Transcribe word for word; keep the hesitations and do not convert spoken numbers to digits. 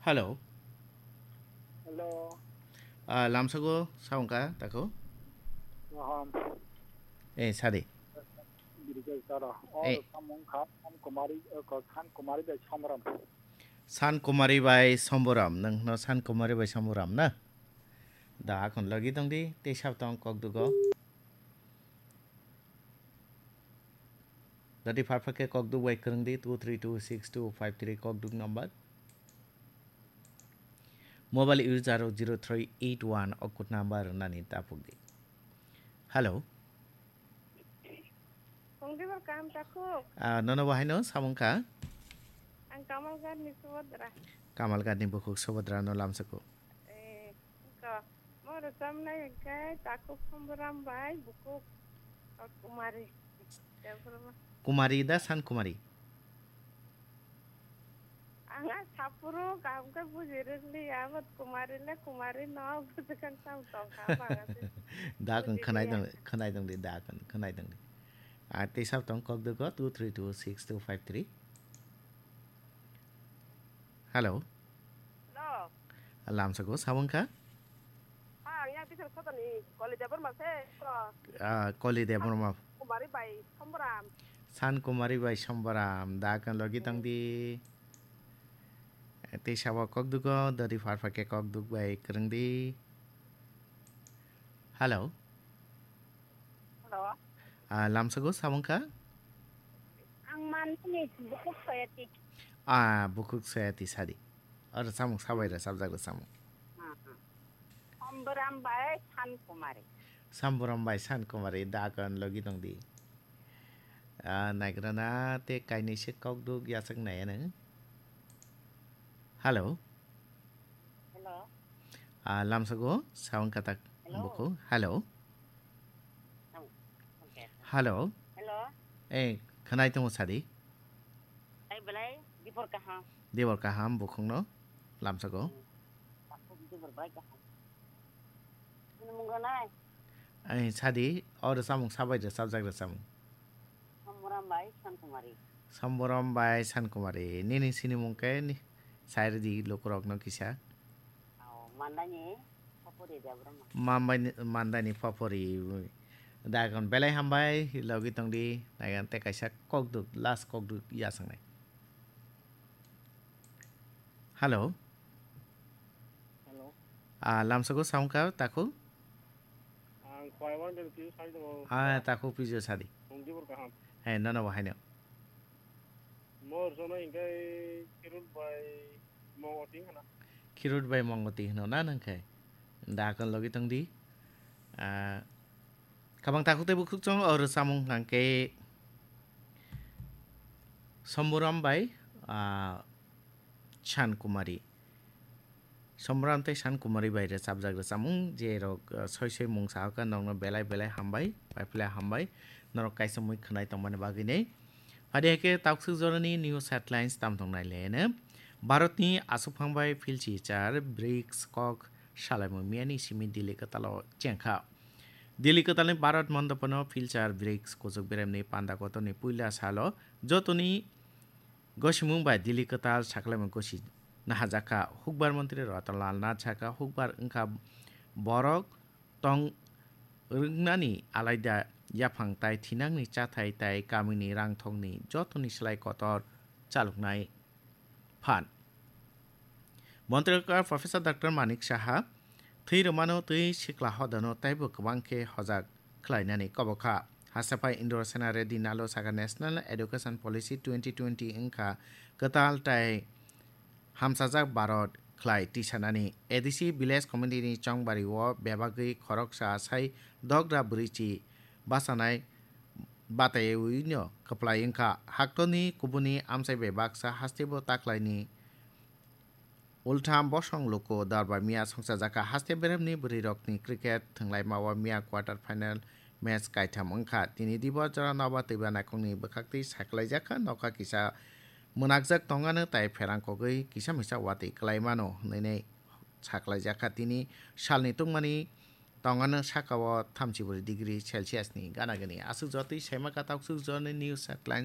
Hello. Hello. Ah, lamsago saungka tako. Waham. Eh, sadi. Birikes taro. Oh, eh, samung kha, San Kumari, eh, ko San Kumari bai Samram. San Kumari bai Samburam, nang no San Kumari bai Samburam na? Da akon logi tong di, te sab tong kok dugo. Dadi farfa ke kok duk bai kwrwng di, two three two six two five three kok duk number. Mobile user zero three eight one okut number nani tapuk di. Hello. Tongdi bor kam takhuk. Ah, nono bahai no samung kha? Ang Kamalgarh ni Subhadra. Kamalgarh ni bukhuk Subhadra no lamsako. Eh, ko. Mo rwchapnai hwnkhe takhuk Samburam bai bukhuk Kumari. Debbarma. Kumari da San Kumari? Ang a saphuru kaham khe buji rwkliya, but Kumari le Kumari no, bujikhang sam tongkha, bang a se. Da kung buji khwnai liya. Tong, khwnai tong di, da kung khwnai tong di. A tei sab tong kok dugo two three two six two five three. Hello. Hello. Lamsako sabang kha? Ha, ang yang Bisal Sotani, Koli Debbarma se, ko. Ah, Koli Debbarma. Kumari bai Samburam. San Kumari bai Samburam, da kan logi tong di. Tei sabo kok dugo, dori farfa ke kok duk bai kwrwng di. Hello. Hello. Ah, lamsago samung kha? Ang manani bukhuk Soyati. Ah, bukhuk Soyati sadi. Oro samung sabai rwchapjak rwchapmung. Hmm, hmm. Samburam bai San Kumari. Samburam bai San Kumari, da kan logi tong di. Ah, naigrana te kainwi se kok duk yachak nai ano. Hello. Hello. Ah, lamsago, sound katak. Hello. Buko. Hello. Oh, okay. Hello. Hello. Eh, khanai tongo sadi. Ai belai, dibor kaham. Dibor kaham, bukhungno, lamsago. Hmm. Dibor belai kaham. Ini munggo nai. Ai, sadi, oro samung sabai rwchapjak rwchapmung. Samburam bai Sankumari. Samburam bai Sankumari. Nini sinimung khe ni, sairdi lukurokno kisa. Ao, Mandani Papuri Debbarma. Mambai ni, Mandani Papuri. Dagon belai hambai, logi tongdi, naigan te kaisa kokduk, last kokduk yasangnai. Hello. Hello. Ah, lamsago sound kha, takhuk? Ang Khwaiwang de Pius sai tongo. Ah, takhuk Pius sadi. Tongdi bor kaham. He, nono bo haino. Mor jono hingkai Khirut bai Mongoti hana. Khirut bai Mongoti hino na nang khai? Da kon logi tongdi. Ah, kabang takhuk tei bukhuk chong oro samung hangke Somburam bai, ah, San Kumari. Somburam tei San Kumari bai rwchapjak rwchapmung, je rok, ah, soi soi mung sahaka nokno belai belai hambai, paiphlai hambai, norok kaisa mui khwnai tongmani bagwi nei. Phadi hai khe taksuk jorani news headlines tam tong nai le ene. Bharatni aswkphang bai philchi char brics kok salaimung miyani simi Delhi kwtalo chengkha. Delhi kwtalni Bharat Mandapano philchar brics kuchuk beremni panda kotorni puila salo jotoni gosimung bai Delhi kwtal saklaimung gosi nahajakha. Hukbar montri Ratan Lal Nath sakha, hukbar wngkha borok tong rwngnani alaida yaphang tai thinangni chathai tai kamini rangthokni jotoni slai kotor chaloknai phan. Montri Professor Doctor Manik Saha thwi rwmano twi sikla hodano taibo kwbang khe hojak khlainani kobo kha. Hasapai Indra Sena Reddy Nalo sakha National Education Policy twenty twenty wngkha kwtal tai hamsajak Bharat khlai tisanani. A D C Village Committee ni chongbari o bebagwi khoroksa sai dogra bwrwichi bachanai bataiwi no kwplai wngkha. Haktorni kubuni amchai bai baksa hasteo taklaini ultham bosong luku dorbar miya songchajakha. Haste beremni bwrwirokni cricket thwnglaima o miya quarter final match kaitham wngkha. Tini dibo jora noba twiba naikhungni bwkhaktwi saklaijakha, nokha kisa mwnakjak tongano tai pherang kogwi kisa misa watwi kwlaimano hwnwi saklaijakha. Tini salni tungmani tongano saka o thamchi bwrwi degree Celsius ni gana gani. Aswk jotwi saima kha taksuk jorni news headlines.